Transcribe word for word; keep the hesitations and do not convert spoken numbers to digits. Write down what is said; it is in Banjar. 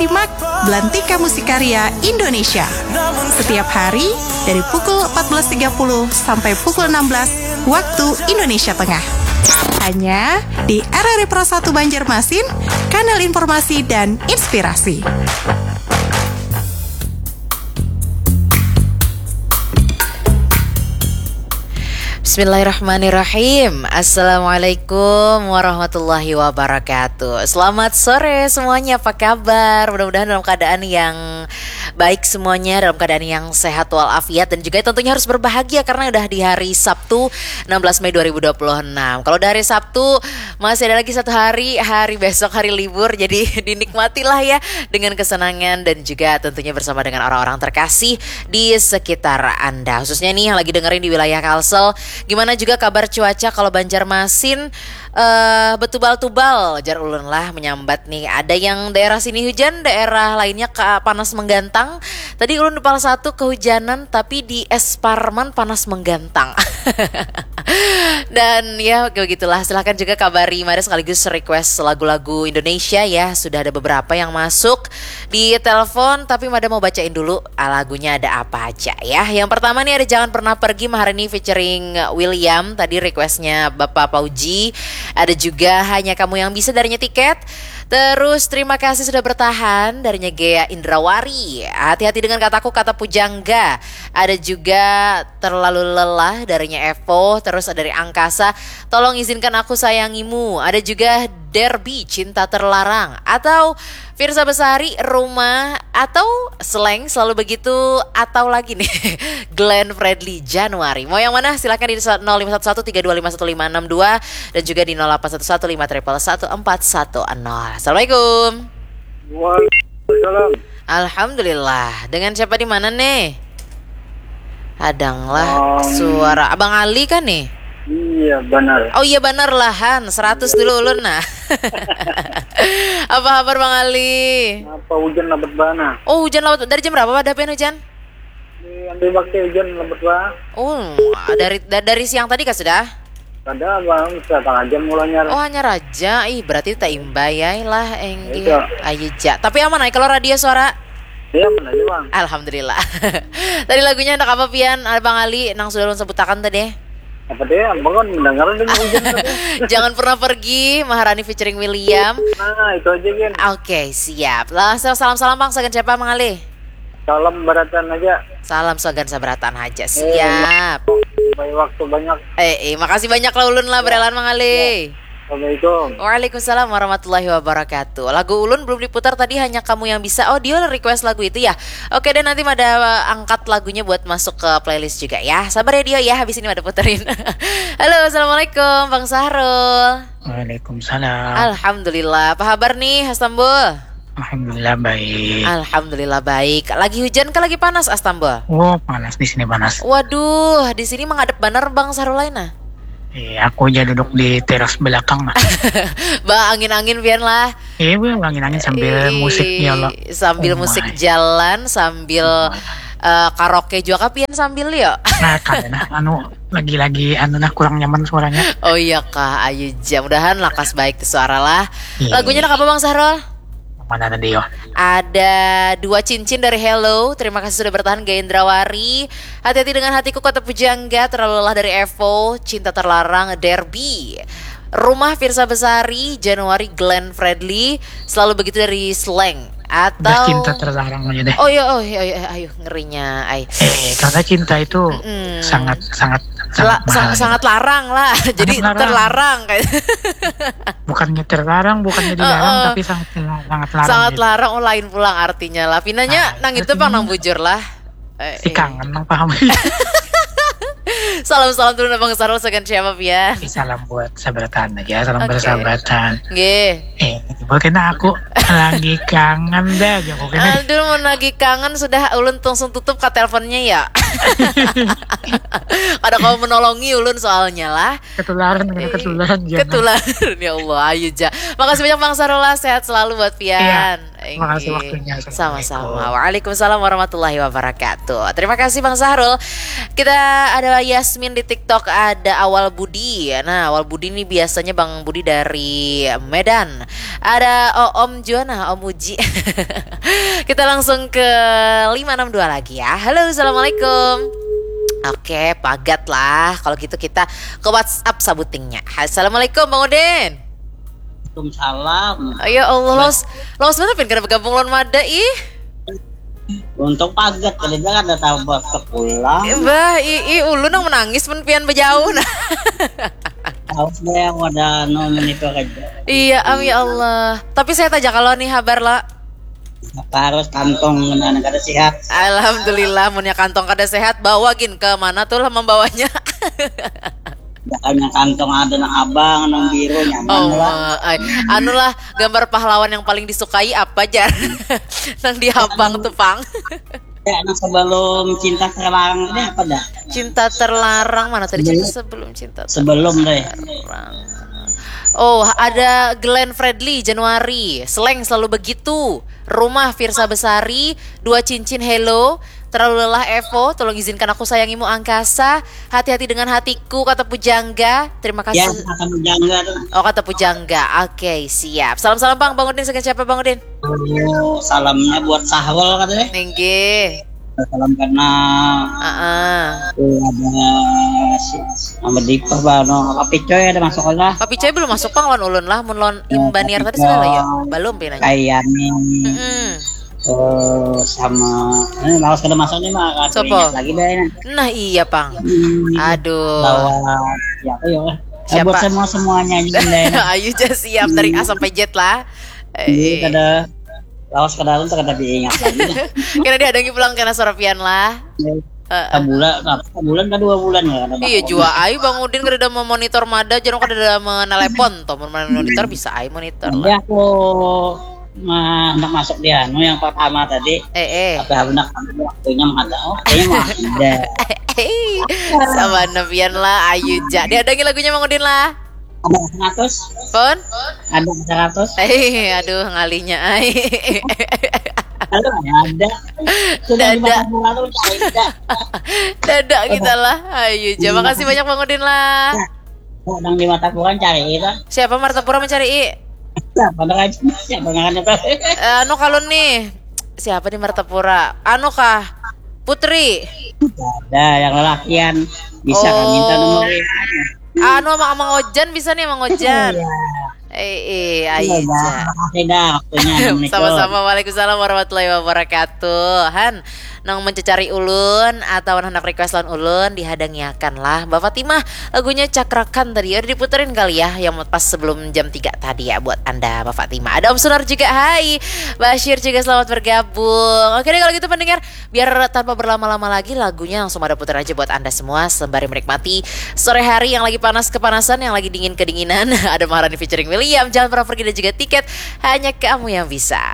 Simak Belantika Musik Karya Indonesia setiap hari dari pukul empat belas tiga puluh sampai pukul enam belas waktu Indonesia Tengah. Hanya di R R I Pro satu Banjarmasin, kanal informasi dan inspirasi. Bismillahirrahmanirrahim. Assalamualaikum warahmatullahi wabarakatuh. Selamat sore semuanya, apa kabar? Mudah-mudahan dalam keadaan yang baik semuanya, dalam keadaan yang sehat walafiat, dan juga tentunya harus berbahagia karena udah di hari Sabtu enam belas Mei dua ribu dua puluh enam. Kalau udah hari Sabtu, masih ada lagi satu hari, hari besok, hari libur, jadi dinikmatilah ya dengan kesenangan dan juga tentunya bersama dengan orang-orang terkasih di sekitar Anda. Khususnya nih yang lagi dengerin di wilayah Kalsel, gimana juga kabar cuaca kalau Banjarmasin? Eh, betubal-tubal, jar ulun lah menyambat nih. Ada yang daerah sini hujan, daerah lainnya ka-, panas menggantang. Tadi ulun di Pal satu kehujanan, tapi di Es Parman panas menggantang. Dan ya, begitulah. Silahkan juga kabari Mada sekaligus request lagu-lagu Indonesia ya. Sudah ada beberapa yang masuk di telepon, tapi Mada mau bacain dulu, ah, lagunya ada apa aja ya. Yang pertama nih ada Jangan Pernah Pergi, Maharani featuring William. Tadi requestnya Bapak Pauji. Ada juga Hanya Kamu Yang Bisa darinya Tiket. Terus terima kasih sudah bertahan darinya Gea Indrawari. Hati-hati dengan kataku, kata pujangga. Ada juga Terlalu Lelah darinya Evo. Terus ada dari Angkasa, Tolong Izinkan Aku Sayangimu. Ada juga Derby, Cinta Terlarang. Atau Firsa Besari, Rumah. Atau Slang, Selalu Begitu. Atau lagi nih, Glenn Fredly, Januari. Mau yang mana? Silakan di nol lima satu satu tiga dua lima satu lima enam dua dan juga di nol delapan satu satu lima triple satu empat satu nol. Assalamualaikum. Waalaikumsalam. Alhamdulillah. Dengan siapa di mana nih? Hadanglah Om. Suara Abang Ali kan nih? Iya, benar. Oh iya, benar lah, Han. Seratus dulu ulun nah. Apa kabar Bang Ali? Apa hujan lebat bana? Oh, hujan lebat. Dari jam berapa pada pian hujan? Di Andi Bakti hujan lebat bana. Oh, dari da- dari siang tadi kah sudah? Kada, Bang, setengah jam mulanya. Oh, hanya raja. Ih, berarti tak imbai ya lah, Enggi. Iya. Ayo ja. Tapi aman ai kalau radio suara? Iya, mana aja, Bang? Alhamdulillah. Tadi lagunya hendak apa pian, Bang Ali, nang sudah ulun sebutakan tadi? Apa dia? Abang kan mendengar dengan hujan tadi. Jangan Pernah Pergi, Maharani featuring William. Nah, itu aja, Gen. Oke, siap. Langsung salam-salam, Bang, sagan siapa, Bang Ali? Salam baratan aja. Salam sagan sabaratan aja. Siap. Supaya waktu banyak. Eh, eh, makasih banyak lah ulun lah, berelan, Bang Ali. Assalamualaikum. Waalaikumsalam warahmatullahi wabarakatuh. Lagu ulun belum diputar tadi, Hanya Kamu Yang Bisa. Oh, Dio request lagu itu ya. Oke deh, nanti Mada angkat lagunya buat masuk ke playlist juga ya. Sabar ya Dio ya, habis ini Mada puterin. Halo, assalamualaikum Bang Sahrul. Waalaikumsalam. Alhamdulillah. Apa kabar nih, Astambul? Alhamdulillah baik. Alhamdulillah baik. Lagi hujan kah lagi panas, Astambul? Oh, panas di sini, panas. Waduh, di sini menghadap banar Bang Sahrul lain nah. Eh, aku aja duduk di teras belakang lah. Ba, angin-angin pian lah. Eh, gue angin-angin sambil Ih, musiknya lo. Sambil Oh musik my. Jalan, sambil eh, karaoke juga kah pian sambil yo. Nah, karena anu lagi-lagi anu nah kurang nyaman suaranya. Oh iya kah, ayo ja. Mudahan lakas baik tu suara lah. Iya. Lagunya nak apa Bang Sahrul? Mana tadi yo? Ada Dua Cincin dari Hello. Terima kasih sudah bertahan, Gendrawari. Hati-hati dengan hatiku, kata Pujangga. Terlalu Lelah dari Evo. Cinta Terlarang, Derby. Rumah, Firsa Besari. Januari, Glenn Fredly. Selalu Begitu dari Slang. Atau Udah cinta terlarang aja deh. Oh iya, oh iya, iya, ayo, ngerinya ai. Eh, karena cinta itu Mm. sangat sangat La- sangat sang- mahal. Sangat larang lah. Jadi Sangat larang. Terlarang kayak. Bukannya terlarang, bukannya dilarang, Heeh. Tapi sangat sangat larang. Sangat Gitu. Larang, oh, lain pulang artinya lah. Pinanya Nah, nang itu itu pang pinanya. Nang bujur lah. Eh, Si eh. Kangen nang paham. Salam-salam dulu Bang Sahrul, sagan siapa pian? Eh, salam buat sabratan aja, salam Oke. Bersabratan. Nggih. Eh, bukannya aku lagi kangen dah, jago kene. Aduh, mau lagi kangen sudah ulun langsung tutup ka teleponnya ya. Kada kawa menolongi ulun soalnya lah. Ketularan, Eh, ketularan jangan. Ketularan, ya Allah, ayu ja. Makasih banyak Bang Sahrul lah, sehat selalu buat pian. Iya, makasih Inggih. Waktunya. Sama-sama. Assalamualaikum. Waalaikumsalam warahmatullahi wabarakatuh. Terima kasih Bang Sahrul. Kita ada Yasmin di TikTok, ada Awal Budi. Nah, Awal Budi ini biasanya Bang Budi dari Medan. Ada Om juga, nah, Om Uji. Kita langsung ke lima enam dua lagi ya. Halo, assalamualaikum. Oke, pagat lah. Kalau gitu kita ke WhatsApp sabutingnya. Assalamualaikum Bang Udin. Waalaikumsalam. Ya Allah, lawas, lawas banget pian kada bergabung lawan Mada ih. Untung pagat tadi kan ada tambah sepulang. Bah, i, i ulun nang menangis mun pian bejauh nah. Harus deh yang ada anu monitor aja. Iya, am ya Allah. Tapi saya tajak kalau nih habar lah. Apa harus kantong dengan kada sehat? Alhamdulillah, munnya kantong kada sehat, bawa gin ke mana tuh lah membawanya. Makanya kantong ada nang abang, nang biru nyaman Oh, lah. Ay. Anulah gambar pahlawan yang paling disukai apa jar? Nang di abang tuh pang. Ya, nang sebelum cinta terlarang tadi apa dah? Cinta terlarang mana tadi? Cinta sebelum cinta Sebelum deh. Terlarang. Oh, ada Glenn Fredly Januari. Seleng selalu begitu. Rumah Firsa Besari, dua cincin hello. Terlalu lelah Evo, tolong izinkan aku sayangimu angkasa. Hati-hati dengan hatiku, kata Pujangga. Terima Ya, kasih. akan menjangga tuh. Oh, kata Pujangga. Oke, siap. Salam-salam Bang, Bang Udin dengan siapa Bang Udin? Oh, salamnya buat Sahrul katanya. Ninggi. Salam kenal. Heeh. Tuh ada si Muhammad Dipah, Bang. No, Papi Coy ada masuk lah. Papi Coy belum masuk pang lawan ulun lah, mun lawan Imbaniar tadi sudah lah ya. Belum pinanya. Kayak nih. Mm-mm. Eh, sama ini lawas kada masuk nih mah, Sopo? ingat lagi deh. Nah, iya pang. Hmm, Aduh. Bawa siapa ya? Eh, Siapa? Buat semua semuanya aja deh. Ayu ja siap dari A sampai Z lah. Iya, Eh, kada lawas kada kada diingat lagi. Kena dihadangi pulang kena suara pian lah. Eh, Sebulan, sebulan ke dua bulan ya, kada Iya tahu. Jua ai Bang Udin kada ada memonitor Mada, jangan kada ada menelepon toh, mun monitor bisa ai monitor Jadi lah. Aku ma- hendak masuk di anu yang pertama tadi, Eh eh. tapi aku nak waktunya mah ada. Oh, kayaknya mah ada. Sama nepian lah, ayu ja. Dihadangi lagunya Bang Udin lah. Ada seratus, Pun? Ada seratus. Eh, aduh ngalinya ai. Kalau ada, sudah Dada. Lima puluh lalu tidak. Dada kita lah. Ayu ja. Makasih banyak Bang Udin lah. Orang di Martapura cari itu. Siapa Martapura mencari? Siapa nak aja? Siapa nak aja? Eh, anu kalau nih. Siapa di Martapura? Anu kah? Putri. Ada yang lelakian bisa Oh. minta nomor. Anu Mang Mang Ojan bisa nih Mang Ojan. Iya. Eh, eh, Iya, ayu ja. Makasih dah waktunya. Assalamualaikum. Sama-sama. Waalaikumsalam warahmatullahi wabarakatuh. Han, nang mencari ulun atau hendak request lawan ulun dihadangiakan lah. Mbak Fatimah, lagunya Cakrakan tadi udah diputerin kali ya, yang pas sebelum jam tiga tadi ya buat Anda Mbak Fatimah. Ada Om Sunar juga, hai. Bashir juga selamat bergabung. Oke deh kalau gitu pendengar, biar tanpa berlama-lama lagi lagunya langsung ada putar aja buat Anda semua sembari menikmati sore hari yang lagi panas kepanasan, yang lagi dingin kedinginan. Ada Maharani featuring William, Jangan Pernah Pergi dan juga Tiket, Hanya Kamu Yang Bisa.